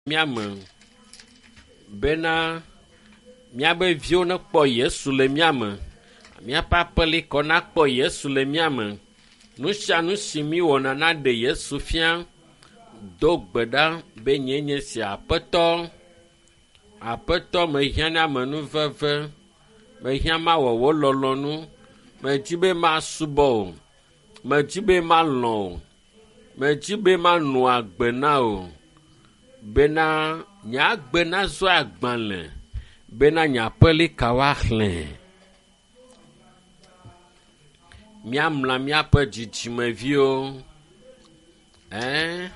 mía me bena míabe viwo nekpɔ Yesu le mía me, míaƒe aƒelikɔ nakpɔ Yesu le mía me. Nu sia nu si míwɔna naɖe Yesu fia. Do gbe ɖa be nyee nye sia Aƒetɔ, Aƒetɔ mehiã na amenuveve, mehiã mawɔ wò lɔlɔ̃nu, medzi be masubɔ wò, medzi be malɔ̃ wò, medzi be manɔ agbe na wò bena nye agbe nazu agbalẽ bena nye aƒelika woaxlẽ. Míamla míaƒe dzidzimeviwo, ɛɛ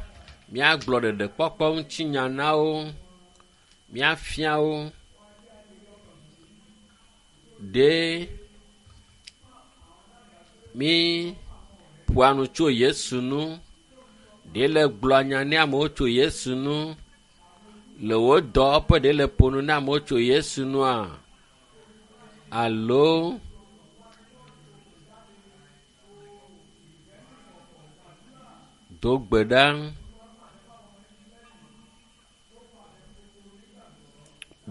míagblɔ ɖeɖekpɔkpɔ ŋutinya na wo, míafia wo ɖe mí ƒoa nu tso Yesu nu, ɖe le gblɔa nya ne amewo tso Yesu nu, le wò dɔwɔƒe ɖe le ƒo nu na amewo tso Yesu nua alo do gbe ɖa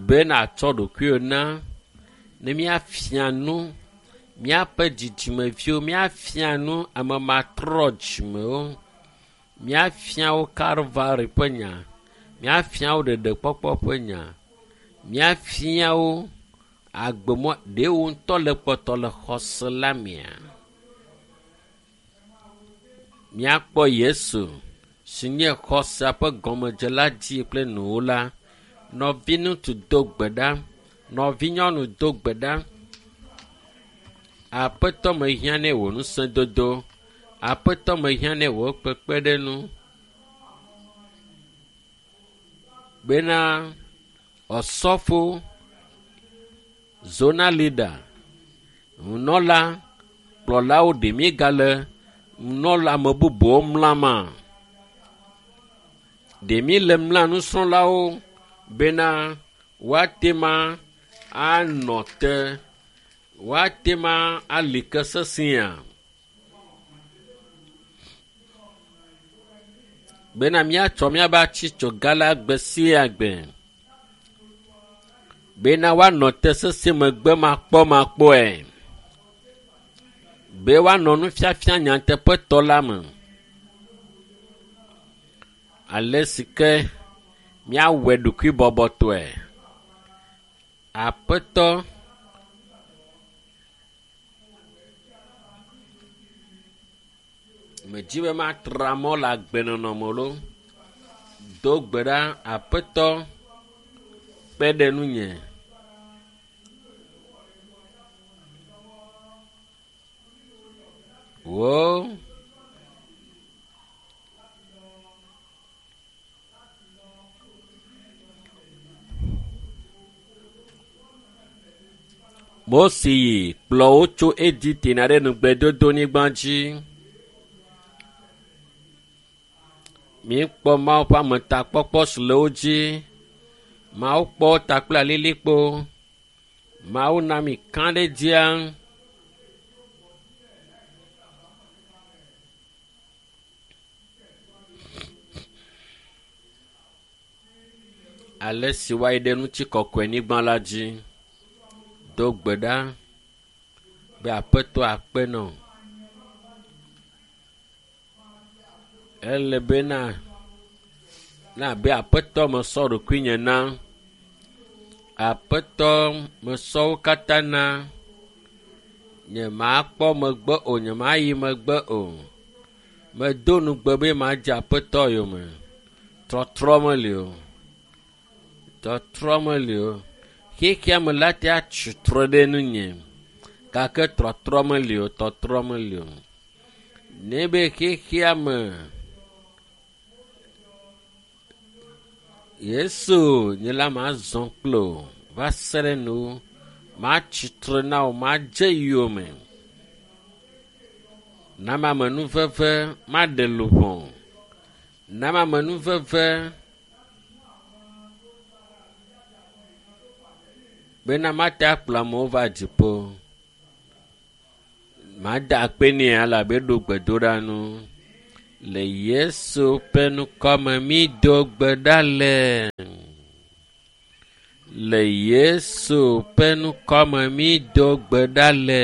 be nàtsɔ ɖokuiwò na ne míafia nu míaƒe dzidzimeviwo, míafia nu ame matrɔ dzimewo, míafia wo Kalvari ƒe nya, míafia wo ɖeɖekpɔkpɔ ƒe nya, míafia wo agbemɔ ɖe wo ŋutɔ le kpɔtɔ le xɔse la mea. Míakpɔ Yesu si nye xɔsea ƒe gɔmedzela dzi kple nuwula. Nɔviŋutsu do gbe ɖa, nɔvinyɔnu do gbe ɖa. Aƒetɔ mehiã nɛ wò ŋusẽdodo, Aƒetɔ mehiã nɛ wò kpekpeɖeŋu bena osɔfo, zona leader, nunɔla, kplɔlawo ɖe míegale nunɔla ame bubuwo mlama? Ɖe míele mla nusrɔ̃lawo bena woate ma anɔ te, woate ma ali ke sesẽa? Bena míatsɔ míaƒe atsitsoga la gbe sia gbe. Bena woanɔ te sesẽ megbe makpɔmakpɔe. Be woanɔ nufiafia nyateƒetɔ la me. Ale si ke míawɔe ɖokuibɔbɔtɔe. Aƒetɔ medzi be matra mɔ le agbenɔnɔ me loo. Do gbe ɖa Aƒetɔ kpe ɖe nunye. Wò Mose yi kplɔ wo tso Egipte na ɖe nugbedodonyigba dzi. Míekpɔ Mawu ƒe ametakpɔkpɔ si le wo dzi. Mawu kpɔ wo ta kple alilikpo. Mawu na mi kã ɖe dzia. Ale si woayi ɖe ŋutikɔkɔe nyigba la dzi. Do gbe ɖa be Aƒetɔ akpe nɔ. Ele bena na be Aƒetɔ mesɔ ɖokuinye na. Aƒetɔ mesɔ wo katã na. Nyemakpɔ megbe o, nyemayi megbe o. Medo nugbe be madze Aƒetɔ yome. Trɔtrɔ meli o. Trɔtrɔ meli o. Xexea me la te atsi trɔ ɖe nunye gake trɔtrɔ meli o, tɔtrɔ meli o. Ne be xexea me Yesu nye la mazɔ kple o va se ɖe nu matsi tre na wò, madze yome. Na amenuveve maɖe luʋɔ. Na amenuveve bena mate akplɔ amewo va dziƒo. Mada akpe nɛ elabe eɖo gbedoɖa nu. Le Yesu ƒe ŋkɔme mído gbe ɖa le. Le Yesu ƒe ŋkɔme mído gbe ɖa le.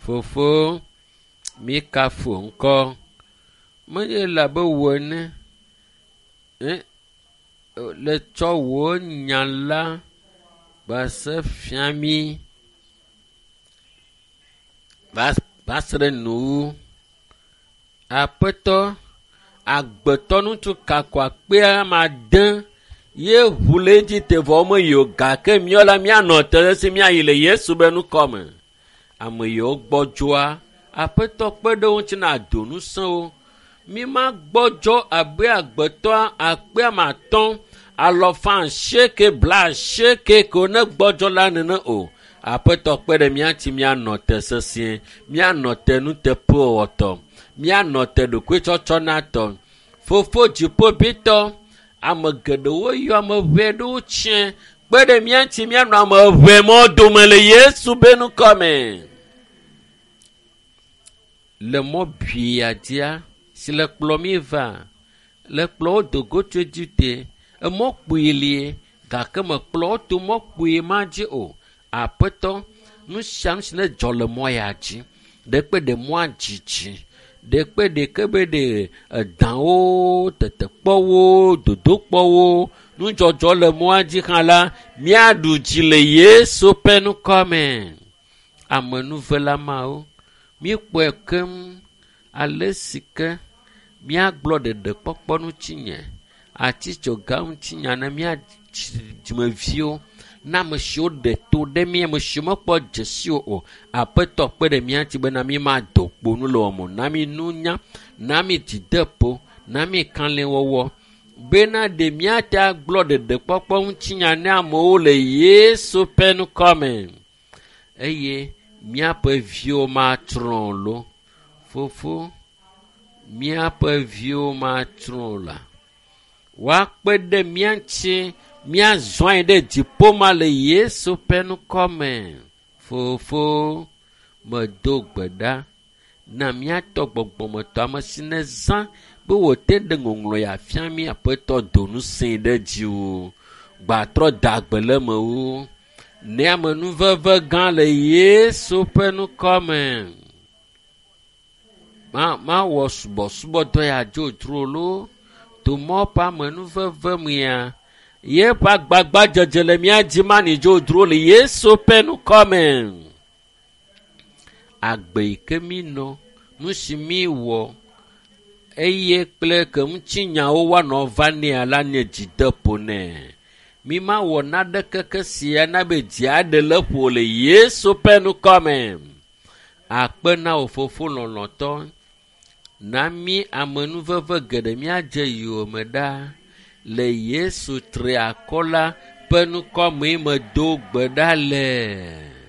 Fofo, míkafu ŋkɔ. Menye le abe wò ene le tsɔ wò nya la va se fia mí va se ɖe nuwu. Aƒetɔ, agbetɔ ŋutsu kako akpe ame ade ye ʋu le Egipte vɔ womeyi o gake míawo la míanɔ te ɖe esi míayi le Yesu be ŋkɔme. Ame yiwo gbɔdzɔa, Aƒetɔ kpe ɖe wo ŋuti na do ŋusẽ wo. Míma gbɔdzɔ abe agbetɔ akpe ame atɔ̃ alɔfa asieke blaasieke ko ne gbɔdzɔ la nene o. Aƒetɔ kpe ɖe mía ŋuti míanɔ te sesĩe, míanɔ te nuteƒewɔwɔtɔ, míanɔ te ɖokuitsɔtsɔnatɔ. Fofo dziƒoʋĩtɔ, ame geɖewo yɔ ame ʋɛ ɖewo tsiẽ kpe ɖe mía ŋuti míanɔ ame ʋɛ mɔ dome le Yesu be ŋkɔme. Le mɔ bia dzia si le kplɔ mí va, le kplɔ wo do go tso Egipte, emɔ kpui lie gake mekplɔ wo to mɔ kpui ma dzi o. Aƒetɔ, nu sia nu si ne dzɔ le mɔ ya dzi, ɖekpe ɖe mɔa dzidzi, ɖekpe ɖeke be ɖe edãwo, tetekpɔwo, dodokpɔwo, nudzɔdzɔ le mɔa dzi hã la, míaɖu dzi le Yesu ƒe ŋkɔme. Amenuvela mawo, míekpɔe keŋ ale si ke míagblɔ ɖeɖekpɔkpɔ ŋutinye, atitsoga ŋutinya na mía dzimeviwo, na ame siwo ɖe to ɖe mí, ame siwo mekpɔ dzesi o. Aƒetɔ kpe ɖe mía ŋuti bena mímado kpo nu le wɔm o. Na mí nunya, na mí dzideƒo, na mí kalẽwɔwɔ bena ɖe míate agblɔ ɖeɖekpɔkpɔ ŋutinya na amewo le Yesu ƒe ŋkɔme. Eye míaƒe viwo matsrɔ̃ lo. Fofo, míaƒe viwo matsrɔ̃ la. Woakpe ɖe mía ŋuti míazɔ anyi ɖe dziƒo ma le Yesu ƒe ŋkɔme. Fofo, medo gbe ɖa na míatɔ gbɔgbɔmetɔ ame si nezã be wòte ɖe ŋɔŋlɔ ya fia mí Aƒetɔ do ŋusẽe ɖe dziwò. Gbatrɔ da gbe le mewo. Ne amenuveve gã le Yesu ƒe ŋkɔme. Mawɔ subɔsubɔdɔ ya dzodzro loo. To mɔ ƒe amenuveve mea, yeƒe agbagbadzedze le mía dzi mani dzodzro le Yesu ƒe ŋkɔme. Agbe yi ke mí nɔ, nu si mí wɔ eye kple ke ŋutinyawo woanɔ va nɛa la nye dzideƒo nɛ. Mímawɔ naneke ke sia na be dzi aɖe le ƒo le Yesu ƒe ŋkɔme. Akpe na wò fofo lɔlɔ̃tɔ. Na mí amenuveve geɖe míadze yowòme ɖa. Le Yesu tri akɔ la ƒe ŋkɔmee medo gbe ɖa le.